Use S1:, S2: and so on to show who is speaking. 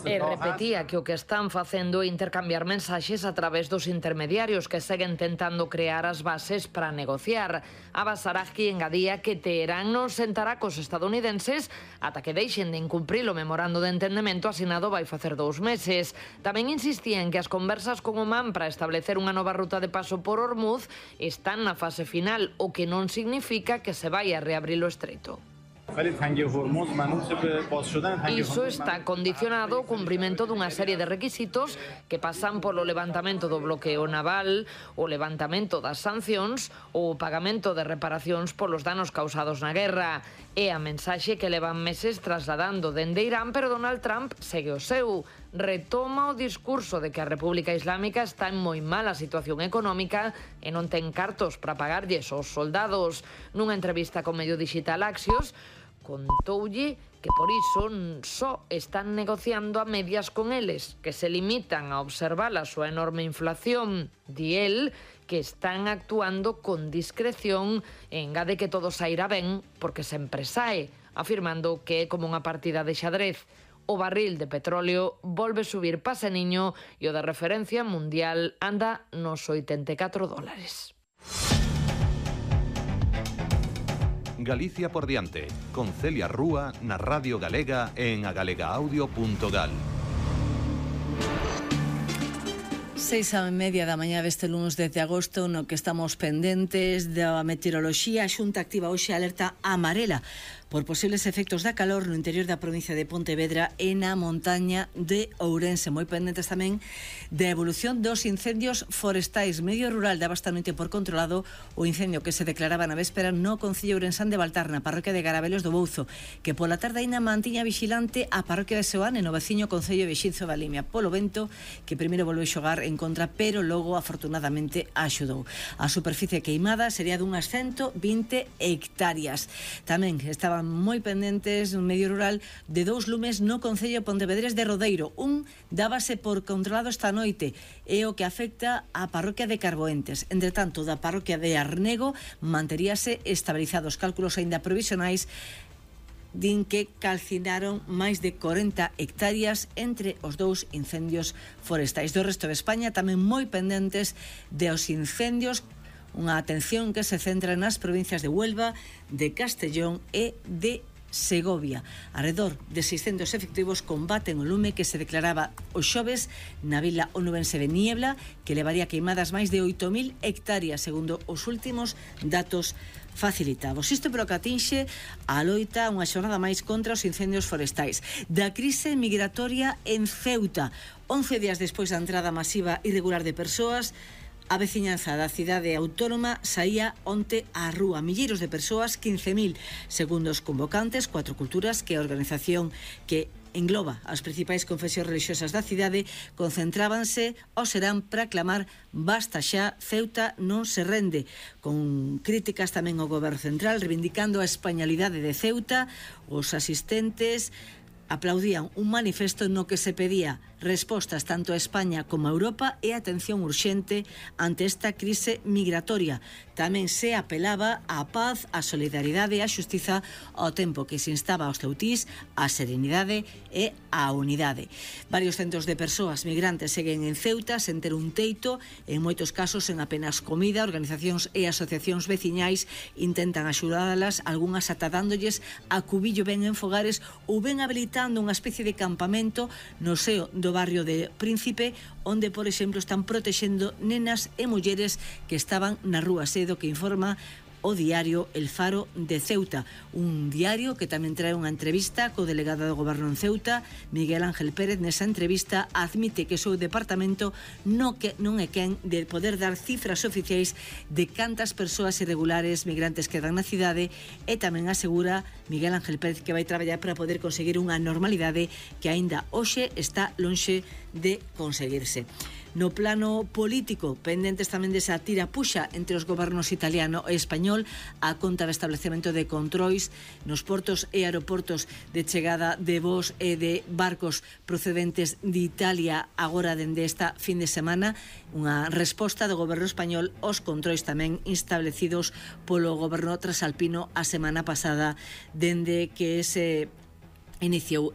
S1: E repetía que o que están facendo é intercambiar mensaxes a través dos intermediarios que seguen tentando crear as bases para negociar. Abbas Araghchi engadía que Teherán non sentará cos estadounidenses ata que deixen de incumprir o memorando de entendemento asinado vai facer 2 meses. Tamén insistía en que as conversas con Omán para establecer unha nova ruta de paso por Hormuz están na fase final, o que non significa que se vai a reabrir o estreito. Iso está condicionado ao cumprimento dunha serie de requisitos que pasan polo levantamento do bloqueo naval, o levantamento das sancións ou o pagamento de reparacións polos danos causados na guerra. É a mensaxe que levan meses trasladando dende Irán, pero Donald Trump segue o seu. Retoma o discurso de que a República Islámica está en moi mala situación económica e non ten cartos para pagarlles aos soldados. Nunha entrevista con medio digital Axios, contoulle que por iso só están negociando a medias con eles, que se limitan a observar a súa enorme inflación. Di el que están actuando con discreción e engade que todo sairá ben porque sempre sae, afirmando que é como unha partida de xadrez. O barril de petróleo volve subir paseniño e o de referencia mundial anda nos $84.
S2: Galicia por diante, con Celia Rúa na Radio Galega en agalegaaudio.gal.
S3: 6:30 da mañá deste lunes 10 de agosto, no que estamos pendentes da meteoroloxía. A Xunta activa hoxe alerta amarela por posibles efectos da calor no interior da provincia de Pontevedra e na montaña de Ourense. Moi pendentes tamén da evolución dos incendios forestais. Medio Rural daba esta noite por controlado o incendio que se declaraba na véspera no concello ourensán de Baltar, na parroquia de Garabelos do Bouzo, que pola tarde aínda mantiña vigilante a parroquia de Seoane, no veciño concello de Xinzo da Limia, polo vento que primeiro volveu xogar en contra, pero logo afortunadamente axudou. A superficie queimada sería dunhas 120 hectáreas. Tamén estaban moi pendentes un medio rural de 2 lumes no concello pontevedrés de Rodeiro. Un dábase por controlado esta noite, é o que afecta á parroquia de Carboentes. Entre tanto, da parroquia de Arnego manteríase estabilizados. Cálculos aínda provisionais din que calcinaron máis de 40 hectáreas entre os dous incendios forestais. Do resto de España tamén moi pendentes dos incendios, unha atención que se centra nas provincias de Huelva, de Castellón e de Segovia. Arredor de 600 efectivos combaten o lume que se declaraba o xoves na vila onubense de Niebla, que levaría queimadas máis de 8.000 hectáreas, segundo os últimos datos facilitados. Isto pero que atinxe a loita unha xornada máis contra os incendios forestais. Da crise migratoria en Ceuta, 11 días despois da entrada masiva irregular de persoas, a veciñanza da cidade autónoma saía onte á rúa. Milleiros de persoas, 15.000, segundo os convocantes, 4 culturas, que a organización que engloba as principais confesións religiosas da cidade, concentrábanse ao Serán para clamar basta xa, Ceuta non se rende, con críticas tamén ao goberno central, reivindicando a españolidade de Ceuta. Os asistentes aplaudían un manifesto no que se pedía respostas tanto a España como a Europa e atención urxente ante esta crise migratoria. Tamén se apelaba á paz, á solidaridade e á xustiza, ao tempo que se instaba aos ceutís á serenidade e á unidade. Varios centos de persoas migrantes seguen en Ceuta sen ter un teito, en moitos casos en apenas comida. Organizacións e asociacións veciñais intentan axudalas, algunhas ata dándolles a cubillo ben en fogares ou ben habilitando unha especie de campamento no seo do barrio de Príncipe, onde, por exemplo, están protexendo nenas e mulleres que estaban na rúa, sedo que informa o diario El Faro de Ceuta, un diario que tamén trae unha entrevista co delegado do goberno en Ceuta, Miguel Ángel Pérez. Nesa entrevista admite que o seu departamento non é quen de poder dar cifras oficiais de cantas persoas irregulares migrantes quedan na cidade, e tamén asegura Miguel Ángel Pérez que vai traballar para poder conseguir unha normalidade que aínda hoxe está lonxe de conseguirse. No plano político, pendentes tamén desa tira-puxa entre os gobernos italiano e español a conta do establecemento de controis nos portos e aeroportos de chegada de voos e de barcos procedentes de Italia agora dende esta fin de semana, unha resposta do goberno español aos controis tamén establecidos polo goberno trasalpino a semana pasada dende que se iniciou